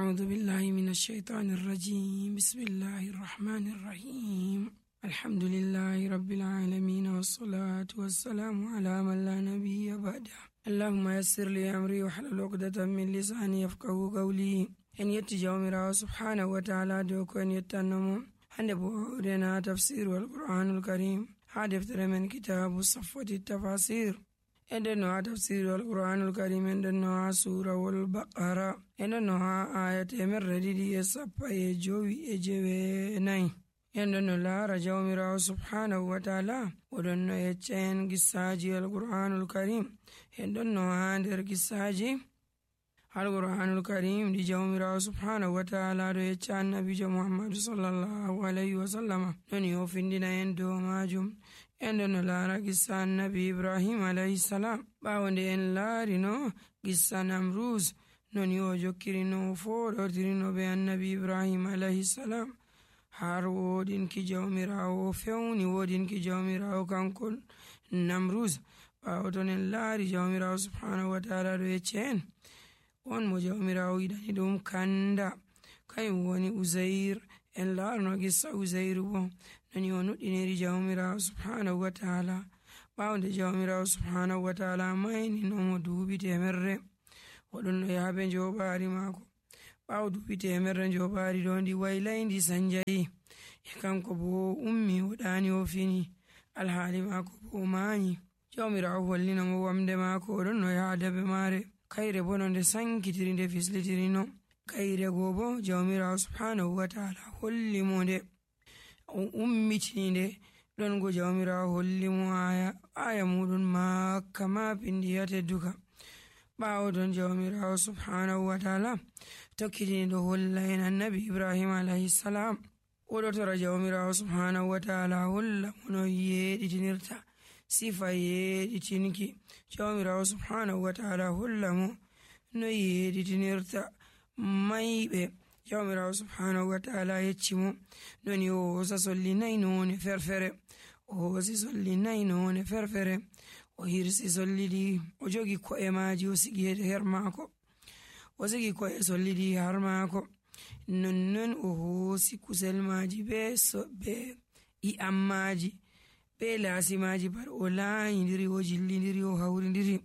أعوذ بالله من الشيطان الرجيم. بسم الله الرحمن الرحيم. الحمد لله رب العالمين، والصلاة والسلام على من لا نبي بعده. اللهم يسر لي أمري واحلل عقدة من لساني يفقه قولي. إن يتجاومر سبحانه وتعالى دوك أن يتنمو عند بودنا تفسير القرآن الكريم. هذا من كتاب صفوة التفاسير. عندنا تفسير القرآن الكريم، عندنا سورة البقرة، عندنا آية من رديدي يسابا يجوي يجوي عندنا لا رجاء ميرا سبحانه وتعالى ودنا يتشين قصاجي القرآن الكريم. عندنا عندر قصاجي القرآن الكريم دي جو ميرا سبحانه وتعالى دو يتشان نبي محمد صلى الله عليه وسلم ننيو فندنا يندو ماجم. عندنا لا قصة النبي إبراهيم عليه السلام باوند ين لارينو قصة نمروز ننيو جوكرينو فورو ترينو بي النبي إبراهيم عليه السلام. har wodin ki jawmirawo fewni wodin ki jawmirawo kankol namruz ɓawo ton en laari jawmirawo subhanahu wa taala ɗo yecce en on mo jawmirawo yiɗani ɗum kanda kayum woni uzair. en laarno gissa uzairu bo noni o nuɗɗiniri jawmirawo subhanahu wa taala ɓawo nde jawmirawo subhanahu wa taala mayni nomo duuɓi temerre oɗon no yaabe njoɓaari maako. ɓawo duuɓi temerre njoɓaari ɗo ndi waylay ndi sanjayi e kanko bo ummi o ɗaani o fini alhaali maako bo o maayi. jawmirawo hollinamo wamde maako oɗon no yaada be maare. kayre bo no nde sankitiri nde fislitirino. kayre goo bo jawmirawo subhanahu wa taala hollimo nde o ummitini nde ɗon go jawmirawo hollimo aya muɗum makka ma pindiyate duka. ɓawo don jawmirawo subhanahu wa taala tokkitini ɗo holla en annabi Ibrahim alayhi salam. oɗo tora jawmirawo subhanahu wa taala holla mo no yeɗitinirta sifa yeɗitinki. jawmirawo subhanahu wa taala holla mo no yeɗitinirta mayɓe. jawmirawo subhanahu wa taala yecci mo noni o hosa solli nayi none ferfere, o hosi solli nayi none ferfere, o hirsi solli ɗi o jogi ko'e maaji o sigi her maako, o sigi ko'e solli ɗi har maako. nonnon o hoosi kusel maaji be i'am maaji be laasi maaji pat o laayindiri o jillindiri o hawrindiri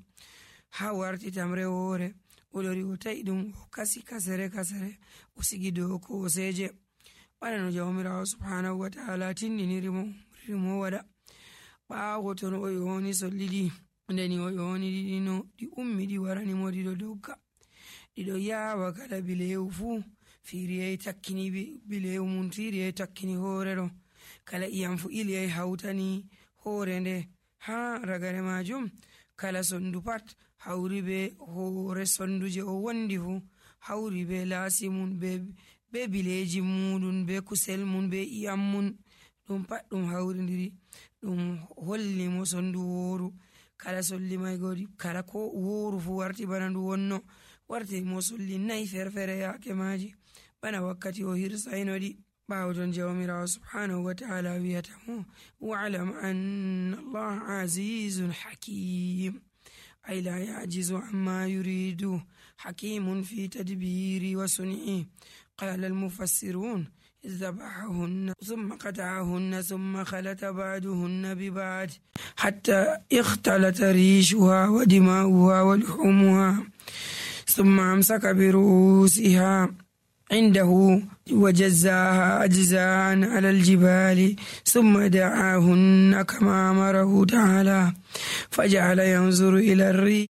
ha warti tamre woore. o lori o ta'i ɗum o kasi kasere o sigi dow kooseje bana no jawmirawo subhanahu wa taala tindiniri mo waɗa. ɓaawo ton o yoni solli ɗi ndeni o yoni ɗiɗino ɗi ummi ɗi warani mo ɗiɗo dogga ɗiɗo yaawa kala bilewu fuu firiyai takkini bilewu mum firiyai takkini hoore ɗo kala iyam fu iliyai hawtani hoore nde ha ragare majum kala sondu pat hawri be hoore sondu je o wondi fu hawri be laasi mum be bileji muɗum be kusel mum be iyam mum ɗum pat ɗum hawrindiri ɗum holli mo sondu wooru. kala solli may godi kala ko wooru fu warti bana ndu wonno warti mo solli nayi ferfere yaake maaji bana wakkati o hirsaynoɗi. ɓawo ton jawmirawo subhanahu wa taala wiyata mo wa'lam anna allah azizun hakim ay la yajizu amma yuridu hakimun fi tadbiri wa sun'i. qala almufassirun ذبحهن ثم قطعهن ثم خلط بعضهن ببعض حتى اختلط ريشها ودماؤها ولحومها ثم أمسك برؤوسها عنده وجزاها أجزاء على الجبال ثم دعاهن كما أمره تعالى فجعل ينظر إلى الريح